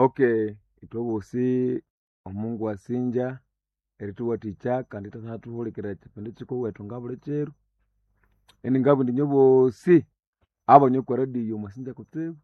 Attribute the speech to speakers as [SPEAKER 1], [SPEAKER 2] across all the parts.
[SPEAKER 1] Okay, ithwe bosi Omungu asingya erithuwathikya kandi ithwathuhulikirira ekyipindi kyikuwethu ngabuli kiro. Iningabugha indi inywe bosi abanywa okwa radio mwasingya kutsibu.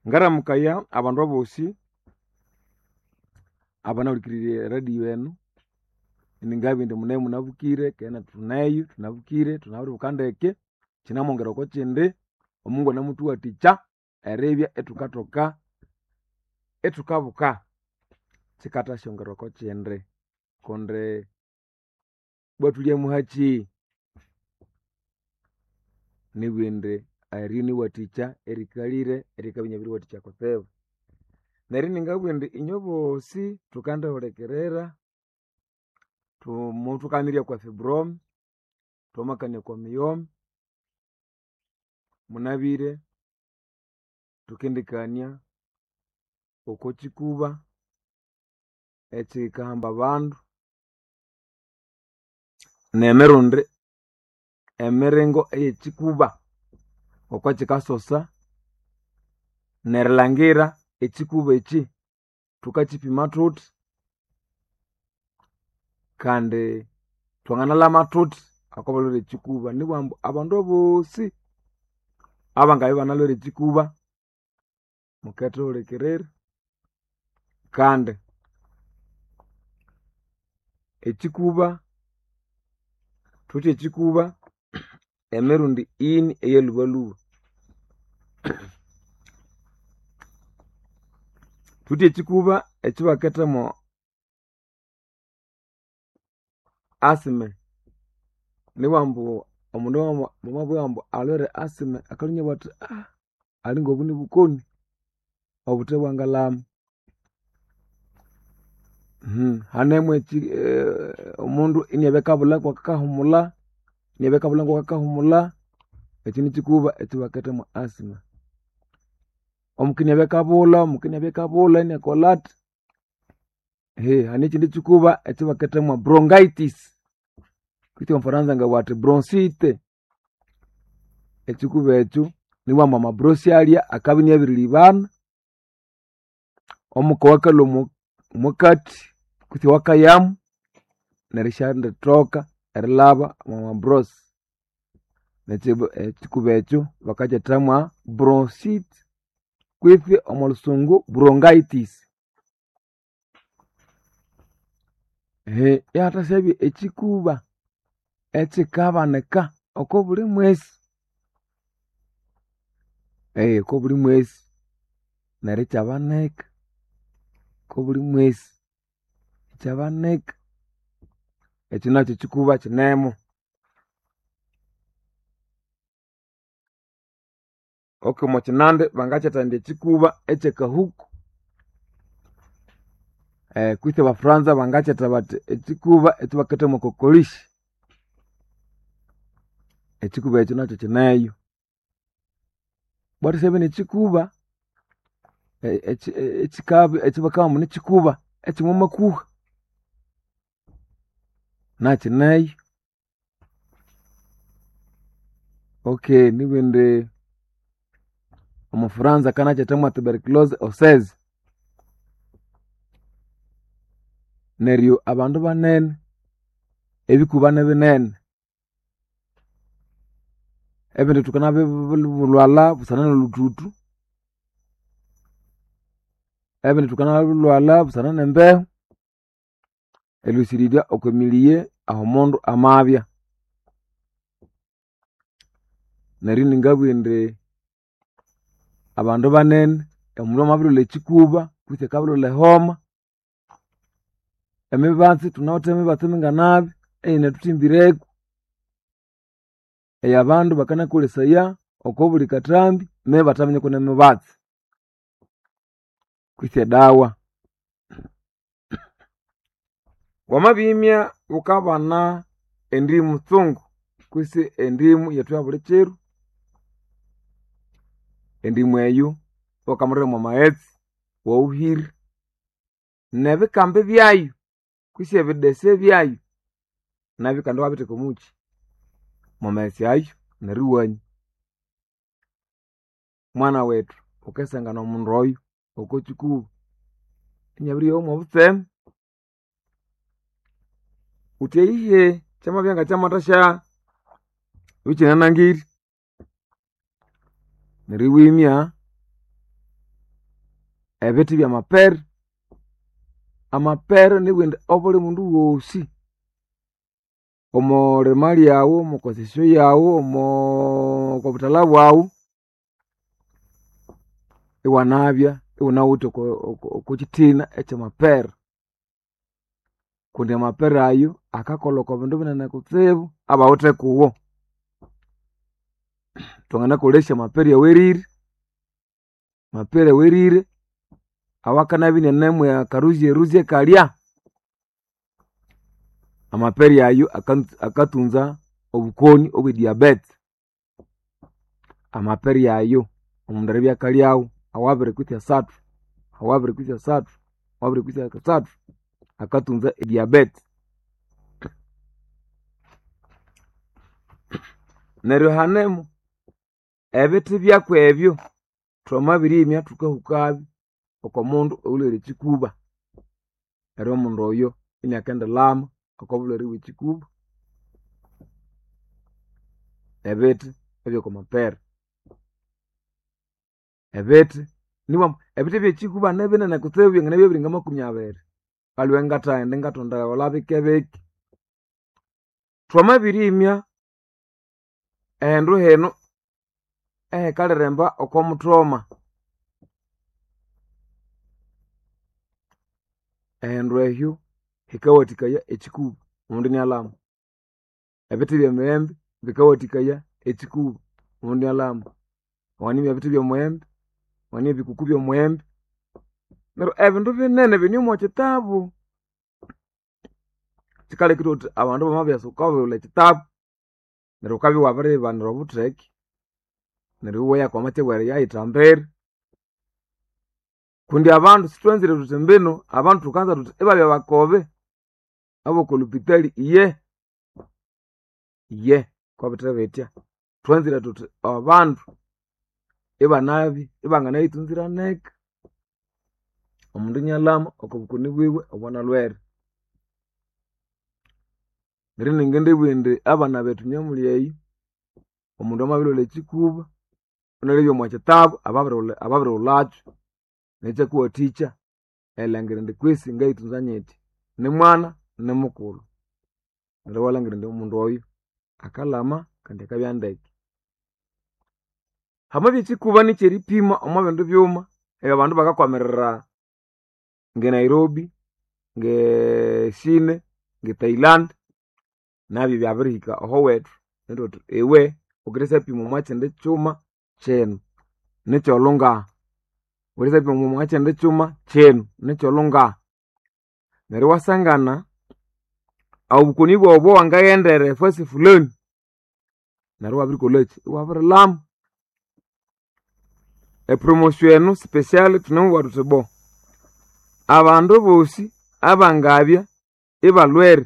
[SPEAKER 1] Ngaramukaya abandu abosi abanahulikirire eradio enu, iningabugha indi munaye munabukire keghe nethu thuneyo thunabukire thunabiribuka ndeke, kyinamwongera oko kyindi, Omungu anamuthuwathikya eribya ithukathoka ithukabuka, kyikathasyongera oko kyindi kundi ibwa thulye muhakyi. Nibugha indi eryo niwathikya erikalire erikabya inabiriwathikya kutsibu. Neryo iningabugha indi inywe bosi thukandihulikirira, muthukanirya okwa fibrome, thwamakania okwa miyoma, munabire thukendikania oko kyikuba ekyikahamba abandu nemirundi emiringo eyekyikuba ngoko kyikasosa nerilhangira ekyikuba ekyi thukakyipima thuthi kandi thwanganalhama thuthi oko balhwere ekyikuba. Nibugha ambu abandu abosi abangabya ibanalhwere ekyikuba mukethuhulikirira kandi ekyikuba thuwithe ekyikuba emirundi ini eyalhubalhuba. Thuwithe ekyikuba ekyabakethamo asthma, nibugha ambu omundu bamabugha ambu alhwere asthma akalhwa inabugha athi alinga obu nibukoni obuthe bwangalhama. Hanemu omundu inabya akabulha ngakahumulha, inabya akabulha ngakahumulha, ekyo nikyikuba ekyabaketha mwa asthma. Omuka inabya akabulha, omuka inabya akabulha inakolhathi. Hane ekyindi kyikuba ekyabaketha mwa bronchitis kwitsi omufaransa angabugha athi bronchite. Ekyikuba ekyo nibugha ambu amabrosi alya akabya inabiribana, omuka owakalhwa omwakathi kwitsi owakayamu neryo isyanditoka erilhaba omwa mabrosi. Ekyikuba ekyo bakakyetha mwa bronchite kwitsi omo lhusungu bronchitis. Ihathasyabya ekyikuba ekyikabanika oko buli mwesi, oko buli mwesi neryo ikyabanika oko buli mwesi ikyabanika. Ekyo nakyo kyikuba kyinemo. Okay omwa kyinandi bangakyetha indi ekyikuba ekyakahuku kwitsi abafuranza bangakyetha bathi ekyikuba ekyabaketha mwa kokolishi. Ekyikuba ekyo nakyo kyineyo. Bwathasyabya nekyikuba ekyabakabugha ambu nikyikuba ekyomwa makuha nakyineyo. Okay nibugha indi omufuranza akanakyetha mwa tuberculose oseze. Neryo abandu banene ebikuba nibinene, ebindi thukanabilhwalha busana nolhuthuthu, ebindi thukanabilhwalha busana nembehu, erilhusirirya okwa miliye aho omundu amabya. Neryo iningabugha indi abandu banene omundu amabirilhwalha ekyikuba kwitsi akabirilhwalha ehoma, emibatsi thunawithe emibatsi minganabi eyinathuthimbireku eyabandu bakanakolesaya oko buli kathambi neryo ibathaminya kune mibatsi kwitsi edawa. Wamabimya wukabana endimu tsungu kwitsi endimu yethu yabuli kiro, endimu eyo iwakamulira mwa maghetse iwawuhira nebikambi byayu kwitsi ebidese byayu nabyo kandi iwabitheka omukyi mwa maghetse ayo neryo iwanywa. Mwana wethu Ukasangana omundu oyo oko kikuba inabiryowa mwobutseme. Wuthi eyihe kyamabya ngakyamathasya ikyinanangire. Neryo iwimya ebithi byamapere. Amapere nibugha indi obuli mundu wosi omolima lyaghu, omokosesyo yaghu, okobuthalha bwaghu, iwanabya iwunawithe okokyithina ekyamapere. Kundi amapere ayo akakolha oko bindu binene kutsibu abawithe kuwo. Twanganakolesya amapere awerire, amapere awerire awakanabya inanemu akaruzye ruzye kalya. Amapere ayo akatunza obukoni obwe diabete. Amapere ayo omundu eribya akalyawo awabiri kwitsi asathu, awabiri kwitsi asathu, awabiri kwitsi asathu, akatunza ediabete. Neryo hanemu ebithi byakwebyo thwamabirimya thukahukabyo oko mundu oyulhwere ekyikuba. Neryo omundu oyo iniakendilhama oko bulhwere bw'ekyikuba. Ebithi ebyoko mapere. Ebithi nibwa ebithi byekyikuba nibinene kutsibu byanganabya biri ngamakumi abiri. Aliwe ngathaghenda ingathondagholha bike bike. Thwamabirimya ehindu hinu ehikaliremba oko muthoma, ehindu ehyo hikawathikaya ekyikuba omundu inialhama. Ebithi byemiyembe bikawathikaya ekyikuba omundu inialhama. Wanganimya ebithi byomuyembe, wanganimya ebikuku byomuyembe. Neryo ebindu binene bine omwa kyitabu. Kyikalekire wuthi abandu bamabyasa wukabulha ekyitabu neryo wukabya iwabiriyibanira obutheke neryo iweya okwa matsya weriyayithambira. Kundi abandu sithwanzire thuthi mbinu abandu thukanza thuthi ibabya bakobe aboko lupitali iye, iye kobithe bithya. Thwanzire thuthi abandu ibanabya ibanganayithunzira neka. Omundu inialhama oko bukoni bwiwe obwanalhwere. Neryo iningindibugha indi abana bethu nyamulya eyi, omundu amabirilhwalha ekyikuba inalabya omwa kyitabu ababirighulhakyo nekyakuwathikya erilhangira indi kwisi ngayithunza nyithya. Nimwana nimukulhu. Neryo iwalhangira indi omundu oyo akalhama kandi akabya ndeke. Hamabya ekyikuba nikyeripima omwa bindi byuma ebyabandu bakakwamirira nge Nairobi, nge Chine, nge Thailand, nabyo byabirihika ahowethu neryo thuthi iwe wukendisyapima omwa kyindi kyuma kyinu nikyolho ngaha, wukendisyapima omwa kyindi kyuma kyinu nikyolho ngaha. Neryo iwasangana obukoni bwaghu obowangaghendera efasi fulani neryo iwabirikolhakyi, iwabirilhama. Epromotion enu special thunemubugha thuthi bo abandu bosi abangabya ibalhwere,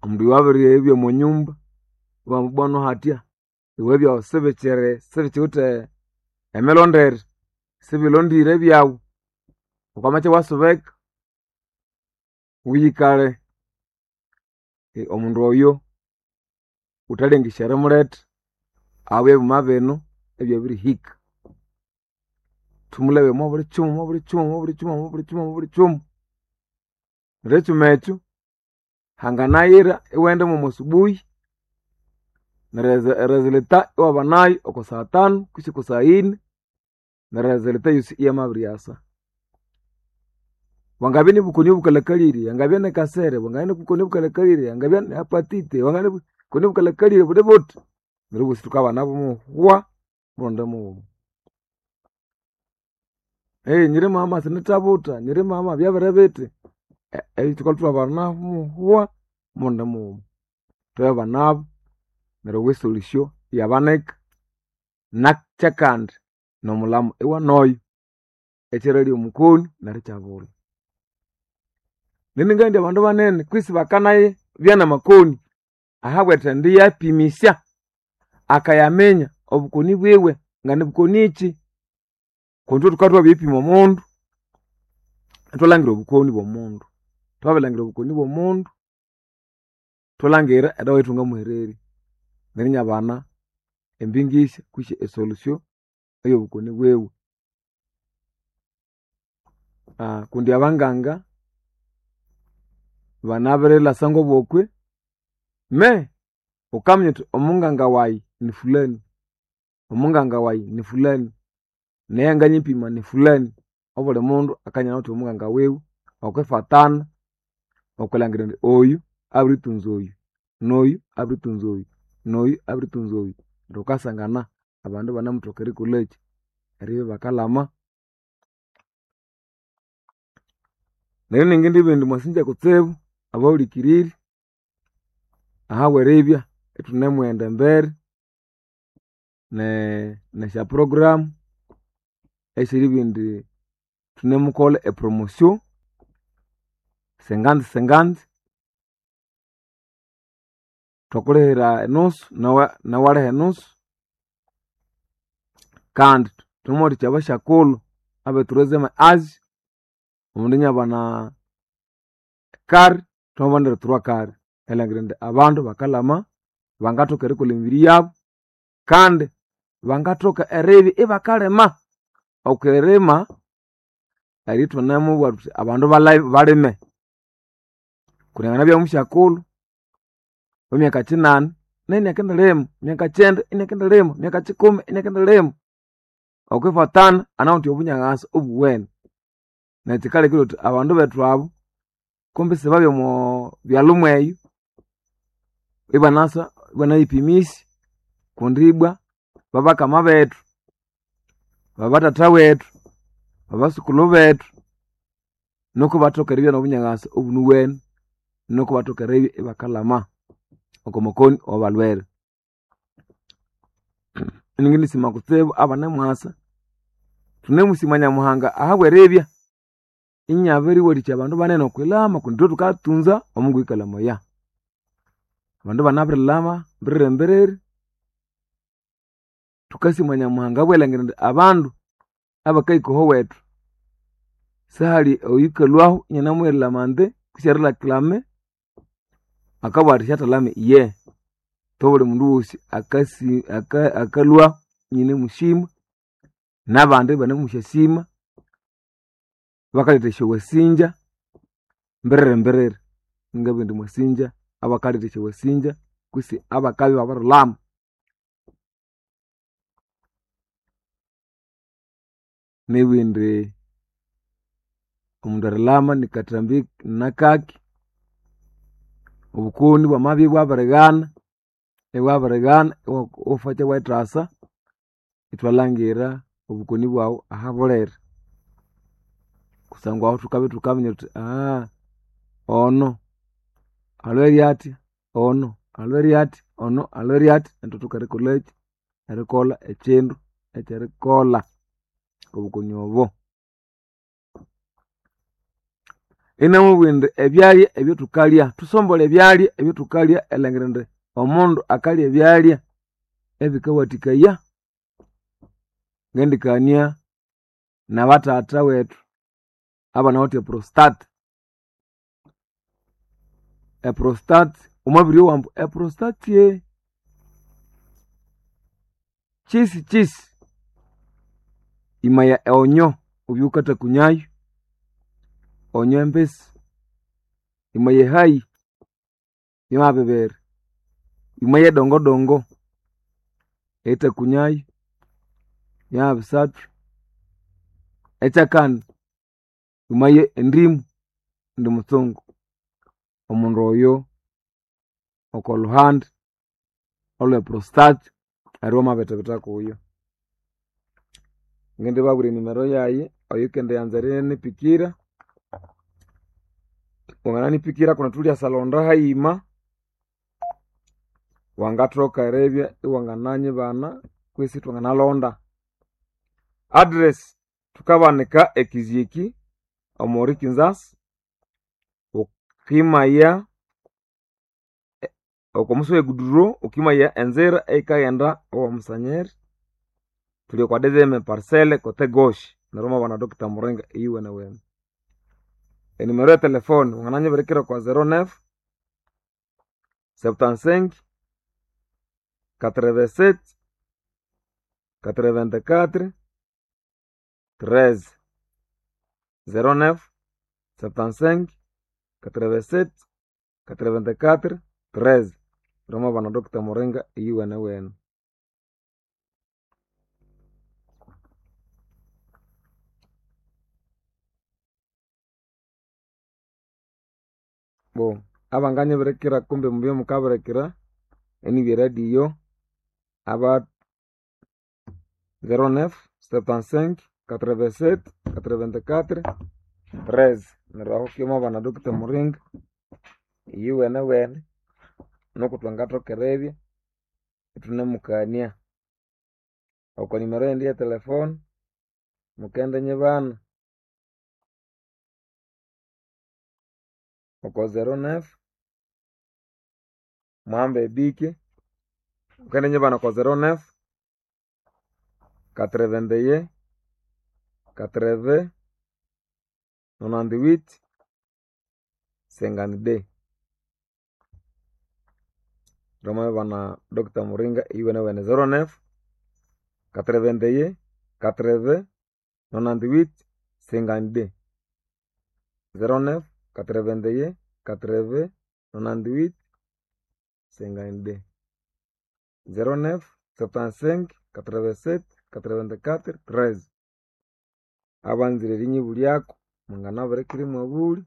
[SPEAKER 1] omundu oyo abiribya omwa nyumba ibamubwano hathya iwe ebyaghu sibikyiri sibikiwithe emilondere, sibilondire ebyaghu, wukamatya iwasubeka wuyikalhe. Omundu oyo wuthalengesya erimuletha ahabwa ebyuma binu ebyabirihika. Thumulebe omwa buli kyuma, omwa buli kyuma, omwa buli kyuma, omwa buli kyuma, omwa buli kyuma. Neryo ekyuma ekyo hanganayira iwaghenda mwomo subuhi neryo eresulta iwabanayo oko saa tanu kwisi oko saa yini neryo eresulta yosi iyamabiryasa. Bwangabya nibukoni obukalhakalire, angabya nikasere, bwangabya nibukoni obukalhakalire, angabya ni hepatite, bwangabya nibukoni obukalhakalire buli buthi, neryo obosi thukabana bumuhwa murundi mughuma. Nyiri mama sinithabutha, nyiri mama byabiri bithi, ebyo thukalhwa ithwabana muhwa murundi mughuma. Thwabanabu neryo esolution iyabanika nakyakandi nomulhamu iwanoyo ekyeralya omukoni neryo ikyabulha. Nindi ngaghindi abandu banene kwisi bakanabya namakoni ahabwerithendi yapimisya akayaminya obukoni bwiwe nga nibukonikyi. Kundi ithwe thukabya thwabiripima omundu, ithwalangira obukoni bw'omundu. Thwabirilhangira obukoni bw'omundu, thwalangira edawa eyathwangamuhererya neryo inabana embingisya kwisi esolution ey'obukoni bwiwe. Kundi abanganga banabirilasa ngobokwe me wukaminya wuthi omunganga wayi ni fulani, omunganga wayi ni fulani, naye anganyipima ni fulani. Obuli mundu akanya awithe omunganga wiwe okwifatana okwilangira indi oyu abiritunza oyu, noyu abiritunza oyu, noyu abiritunza oyu. Neryo wukasangana abandu ibanamuthoka erikolhakyi, eribya ibakalama. Neryo ningindibugha indi mwasinja kutsibu abahulikiriri ahabweribya ithunemughenda embere nesya program esyeribugha indi thunemukolha epromotion senganzi senganzi, thwakulihira enusu nawe iwaliha enusu. Kandi thwamuwathikya abasyakulhu abe troisieme age, omundu inabana kari, thwamabanira trois kari erilhangira indi abandu bakalhama, bangathoka erikolha emibiri yabu kandi bangathoka eribya ibakalima. Okwirima erithunamubugha thuthi abandu balime. Kundi anganabya musyakulhu wemyaka kinani nayu inakendilima, myaka kyenda inakendilima, myaka kikumi inakendilima. Okwifatana anawithe obunyaghasa obuwene. Neryo kyikalekire thuthi abandu bethu abu kumbi sibabya omo byalhu mweyo ibanasa ibanayipimisya kundi ibwa babakama bethu, babathatha wethu, babasukulhu bethu, nuku ibathoka eribya nobunyaghasa obunuwene, nuku ibathoka eribya ibakalhama oko makoni awabalhwere. Iningindisima kutsibu abanemwasa, thunemusima Nyamuhanga ahabweribya inyabiriwathikya abandu banene okwilhama kundi ithwe thukatunza omungu oyukalhamaya. Abandu banabirilhama mbiriri mbiriri, thukasima Nyamuhanga ahabw'erilhangira indi abandu abakahika ahowethu sihali oyukalhwahu inanamughirira amande kwisi erilhaklame akabugha athi syathalhame iye. Thobuli mundu wosi akasi akalhwahu ininemusima n'abandi ibanemusyasima, bakaletha esyowasinja mbiriri mbiriri. Ngabugha indi mwasinja abakaletha esyowasinja kwisi abakabya ibabirilhama. Nibugha indi omundu erilhama nikathambi nakaki, obukoni bwamabya ibwabirighana, ibwabirighana iwafakya iwayithasa ithwalhangira obukoni bwaghu ahabuliri. Kusangwa ahu thukabya thukaminya thuthi ono alhwere athya, ono alhwere athya, ono alhwere athya, ithwathoka erikolhakyi, erikolha ekyindu ekyerikolha obukoni obo. Inamubugha indi ebyalya ebyathukalya, thusombolhe ebyalya ebyathukalya erilhangira indi omundu akalya ebyalya ebikawathikaya. Ngendikania nabathatha wethu abanawithe eprostate. Eprostate wamabiryowa ambu eprostate kyisi kyisi, imaya eonyo wubye wukathakunyayu, onyo embisi, imaya ehayi yamabibera, imaya edongodongo erithakunyayu yamabisathu, ekyakani imaya endimu indi mutsungu. Omundu oyo oko luhandi olwe prostate neryo wamabithibitha kuyo. Ngindibabwira enimero yayi oyukendiyanza erinipikira, wangananipikira kundi thulyasa hayima, wangathoka eribya iwangananyibana kwisi ithwanganalonda. Address thukabanika ekizyeki omuri Kinzasi, wukimaya. Oko musi w'eguduro ukimaya enzira eyikaghenda owa Musanyeri, thuli okwa deuxième parcelle côté gauche, neryo mwabana Dr. Muringa eyuwenewene. Enumero y'etelefone wangananyibirikira okwa 09 75 87 84 13, 09 75 87 84 13. Neryo mwabana Dr. Muringa eyuwenewene. Bo abanganyibirikira kumbe mubye mukabirikira enibya eradio aba 09 75 87 84 13. Neryo aho ukimwabana Dr. Muringa eyuwenewene nuku thwangathoka eribya ithunemukania. Oko nimero yindi y'etelefone mukendinyibana oko 09 muhambe ebike, mukendinyibana oko 09 81 80 98 52. Mwamabana Dr. Muringa eyuwenewene 09 81 80 98 52, 09 81 80 98 52, 09 75 87 84 13. Abanzire erinyibulyako munganabirikira imwabulya,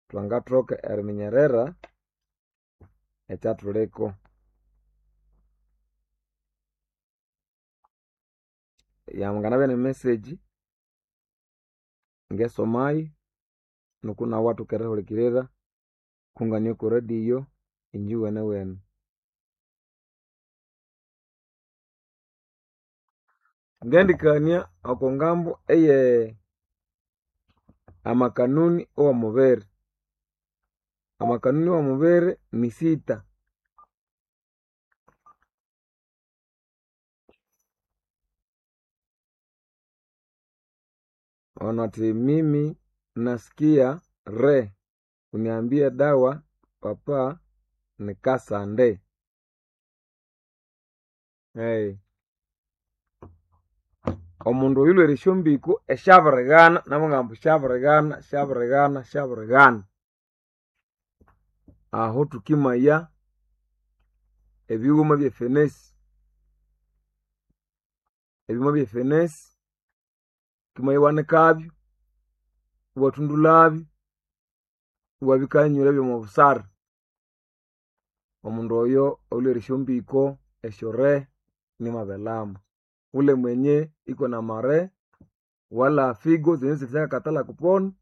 [SPEAKER 1] thwangathoka eriminyerera ekyathuliko. Yanganabya n'emessage ngesomayo nuku nawu iwathoka erihulikirira kungania oko radio inje iwenewene. Ngendikania oko ngambo eye amakanuni owomubiri. Amakanuni owomubiri ni sita. Ono athi mimi nasikia re uniambie dawa papa nikasande. Hey. Omundu oyu lhwere esyombiko esyabirighana nabugamba syabirighana syabirighana syabirighana. Aho thukimaya ebighuma byefenesi, ebighuma byefenesi wukimaya iwanikabyo, iwathundulhabyo, iwabikanyura byomobusara. Omundu oyo olhwere esyombiko esyorehe nimabelama. Ule mwenye iko na mare wala figo zenye zilishakatala kupona,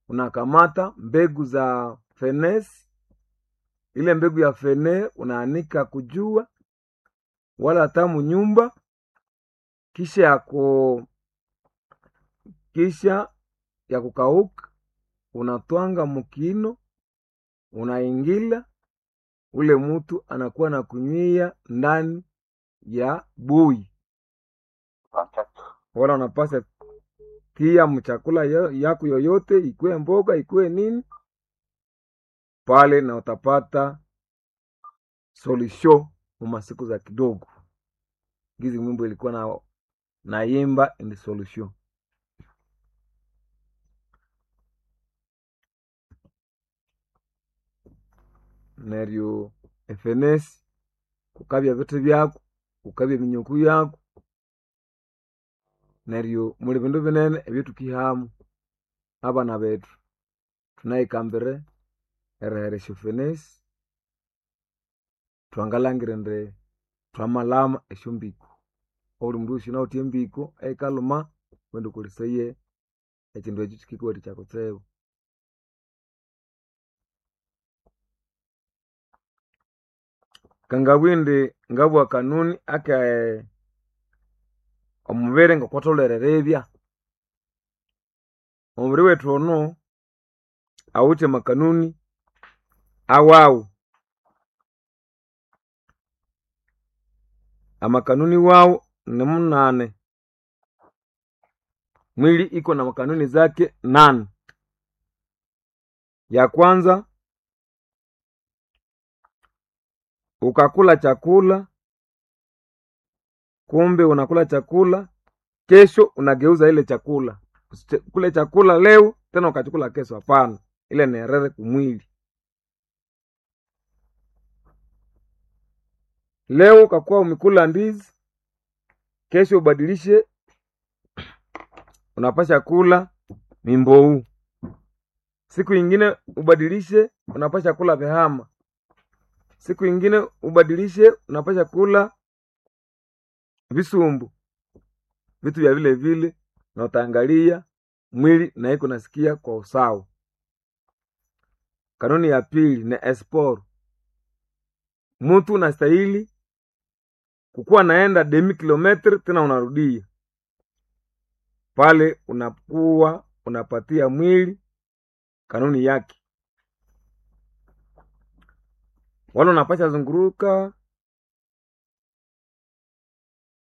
[SPEAKER 1] unakamata mbegu za fenesi, ile mbegu ya fene unaanika kujua wala hata munyumba, kisha ya kukauka unatwanga mukino, unaingila ule mutu anakuwa na kunywia ndani ya bui, wala unapasa tia mchakula yako yoyote, ikuwe mboga ikuwe nini pale, na utapata solution mumasiku za kidogo. Gizi mwimbo ilikuwa na naimba in solution. Neryo efenesi kukabya ebithi byaku, kukabya eminyuku yaku, neryo muli bindu binene ebyathukihamu. Abana bethu thunayikambire erihera esyofenesi, thwangalhangira indi thwamalhama esyombiko. Obuli mundu wosi yunawithe embiko eyikalhuma wukaghenda wukolesaye ekyindu ekyo kyikikuwathikya kutsibu. Kangabugha indi ngabugha kanuni ake omubiri ngokwatholere eribya. Omubiri wethu ono awithe amakanuni awawu. Amakanuni wawu ni munane. Mwili iko na makanuni zake nane. Ya kwanza, ukakula chakula, kumbe unakula chakula, kesho unageuza ile chakula. Usikule chakula leo tena ukachukula kesho, hapana. Ile ni erere kumwili. Leo ukakuwa umekula ndizi, kesho ubadilishe, unapasha kula mimbou. Siku ingine ubadilishe, unapasha kula vihama. Siku ingine ubadilishe, unapasha kula visumbu, vitu vya vile vile, na utaangalia mwili na iko nasikia kwa usawa. Kanuni ya pili ni esport. Mutu unastahili kukuwa naenda demi kilometre tena unarudia pale, unakuwa unapatia mwili kanuni yake, wala unapasha zunguruka,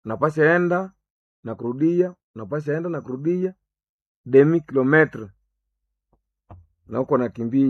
[SPEAKER 1] unapasha enda na kurudia, unapasha enda na kurudia demi kilometre, na uko nakimbia.